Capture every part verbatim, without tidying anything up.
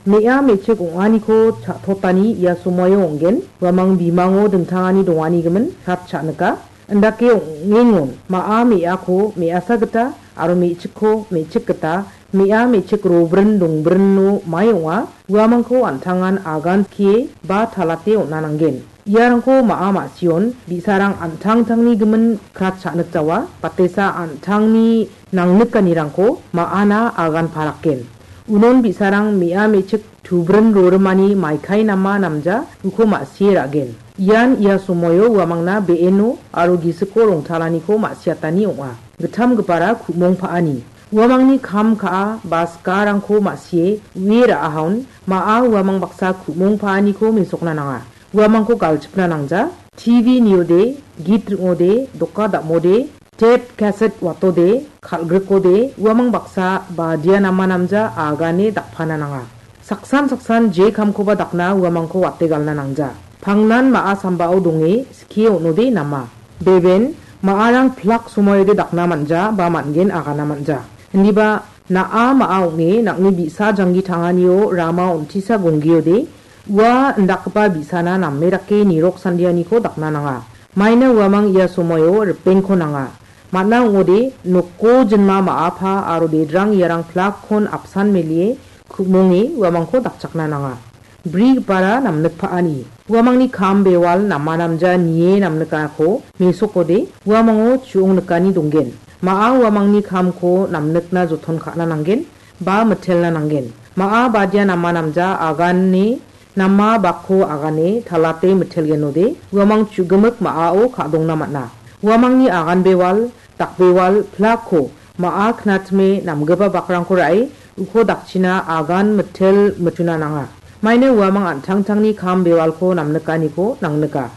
Me·a me·chik ong·aniko cha·totani ia somoio ong·gen. Uamang bimango dingtangani donganigimin kat cha·nika. Indake ong·engon ma·a me·ako me·asa gita aro me·chikko me·chik gita, me·a me·chik robrin dongbrino mai ong·a. Uamangko an·tangan agan skie ba talate on·a nanggen. Iarangko ma·a ma·sion bi·sarang an·tangtangni gimin krat cha·nikjawa, batesa an·tangni nangnikanirangko ma·ana agan parakgen. Unon bi·sarang me·a me·chik tubrin rorimani maikai nama namja uko ma·sie ra·gen. Ian ia somoio uamangna be·eno aro gisiko rongtalaniko ma·siatani ong·a. Gittam gipara ku·mong pa·ani. Uamangni kam ka·a ba sikarangko ma·sie ue ra·ahaon ma·a uamang baksa ku·mong pa·aniko mesokna nanga. Uamangko galchipna nangja. T V niode, git ring·ode, doka dam·ode, tep kaset watode, kal·grikode, uamang baksa badia nama namja agane dakpana nanga. Saksan saksan je kamkoba dakna uamangko wate galna nangja. Pangnan ma·a sambao donge skie on·ode nama. Beben, ma·arang plak somoiode dakna manja ba man·gen agana manja. Indiba na·a ma·a ong·e nang·ni bi·sa janggi tanganio rama on·tisa gonggiode, ua indakgipa bi·sana name dake nirok sandianiko dakna nanga. Maina uamang ia somoio ripengko nanga. Man·a ong·ode, noko jinma ma·apa aro dedrang iarang plakkon apsan melie ku·monge uamangko dakchakna nanga. Brigipara namnik pa·ani. Uamangni kam bewal nama namja nie namnikako mesokode uamango chu·ong nikani donggen. Ma·a uamangni kamko namnikna joton ka·na nanggen ba mitelna nanggen. Ma·a badia nama namja agane nama bakko agane talate mitelgenode uamang chu·gimik ma·ao ka·dongna man·a. Uamangni agan bewal, dakbewal, plakko ma·a knatime namgipa bakrangko ra·e uko dakchina agan mitel mituna nanga. Maina uamang an·tangtangni kam bewalko namnikaniko nangnika.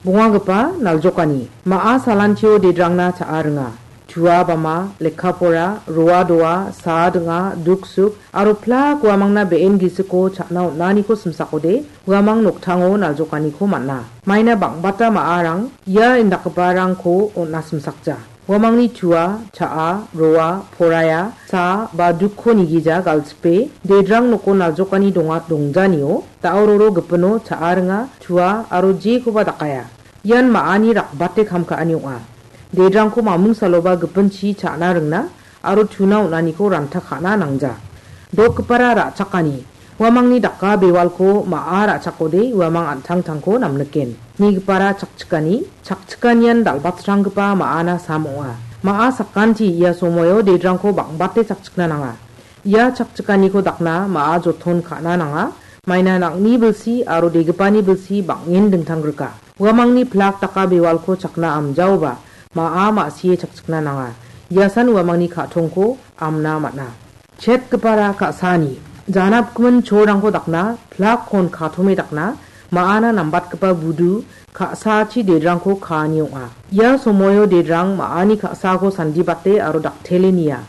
Bongagipa naljokani. Ma·a salantio dedrangna cha·a ringa. Tua bama, lekka pora, roa doa, saa dinga, duksuk, aro plak uamangna be·en gisiko cha·na on·aniko simsakode, uamang noktango naljokaniko man·a. Maina bang·bata ma·arang ia indakgiparangko on·a simsakja. Uamangni tua, cha·a, roa, poraiya, saa ba dukko nigija galchipe, dedrang noko naljokani donga dongjanio, da·o roro gipino cha·a ringa, tua aro jekoba dakaia. Ian ma·ani rakbate kam ka·ani ong·a. Dedrangko mamung saloba gipinchi cha·na ringna aro tuna on·aniko ranta ka·na nangja. Dokgipara ra·chakani. Uamangni daka bewalko ma·a ra·chakode uamang an·tangtangko namniken. Nigipara chakchikani. Chakchikanian dal·batranggipa ma·ana sam ong·a. Ma·a sakanti ia somoio dedrangko bang·bate chakchikna nanga. Ia chakchikaniko dakna ma·a joton ka·na nanga. Maina nang·ni bilsi aro degipani bilsi bang·en dingtang grika. Uamangni plak daka bewalko chakna amjaoba, ma·a ma·sie chakchikna nanga. Iasan uamangni ka·tongko amna man·a. Chetgipara ka·sani, janapgimin cholrangko dakna, plakkon katome dakna, ma·ana nambatgipa budu, ka·sachi dedrangko kaani ong·a. Ia somoio dedrang ma·ani ka·sako sandibate aro daktele nia.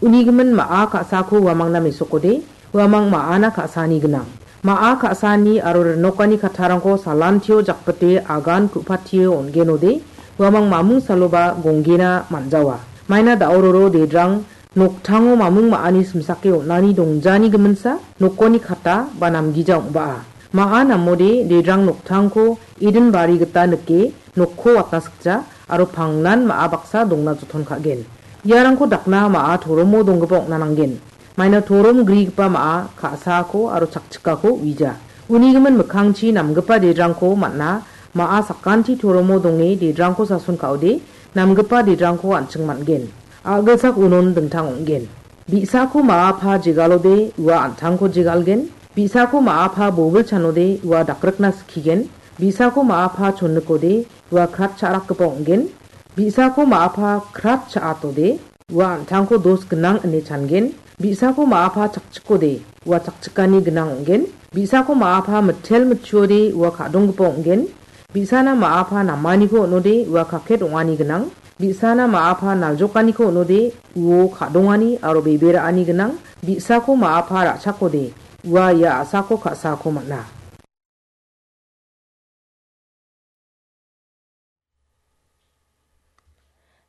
Unigimin ma·a ka·sako uamangna mesokode, uamang ma·ana ka·sani gnang. Ma·a ka·sani aro rinokani kattarangko salantio jakbite agan ku·patio on·genode, uamang mamung saloba gonggena man·jawa. Maina da·ororo dedrang noktango mamung ma·ani simsake on·ani dongjani giminsa nokoni katta ba namgija ong·baa. Ma·a namode dedrang noktangko Eden bari gita nike nokko watna sikja aro pangnan ma·a baksa dongna joton ka·gen. Iarangko dakna ma·a toromo donggipa ong·na nanggen. Maina torom grigipa ma·a ka·sako aro chakchikako uija. Unigimin mikkangchi namgipa dedrangko man·a ma·a sakanti toromo donge dedrangko sason ka·ode namgipa dedrangko an·ching man·gen. A·gilsak unon dingtang ong·gen. Bi·sako ma·a pa jegalode ua an·tangko jegalgen. Bi·sako ma·a pa bobil chanode ua dakrikna skigen. Bi·sako ma·a pa chonnikode ua krat cha·rakgipa ong·gen. Bi·sako ma·a pa krat cha·atode ua an·tangko dos gnang ine changen. Bi·sako ma·a pa chakchikode ua chakchikani gnang ong·gen. Bi·sako ma·a pa mitel mitchuode ua ka·donggipa ong·gen. Bi·sana ma·a pa namaniko on·ode ua kaket ong·ani gnang. Bi·sana ma·a pa naljokaniko on·ode uo ka·dongani aro bebe ra·ani gnang. Bi·sako ma·a pa ra·chakode ua ia a·sako ka·sako man·a.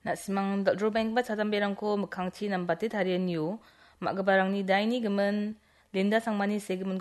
Na·simang dal·drobaenggipa chadamberangko mikkangchi nambate tarianio, ma·giparangni daini gimin, Linda Sangmani segimin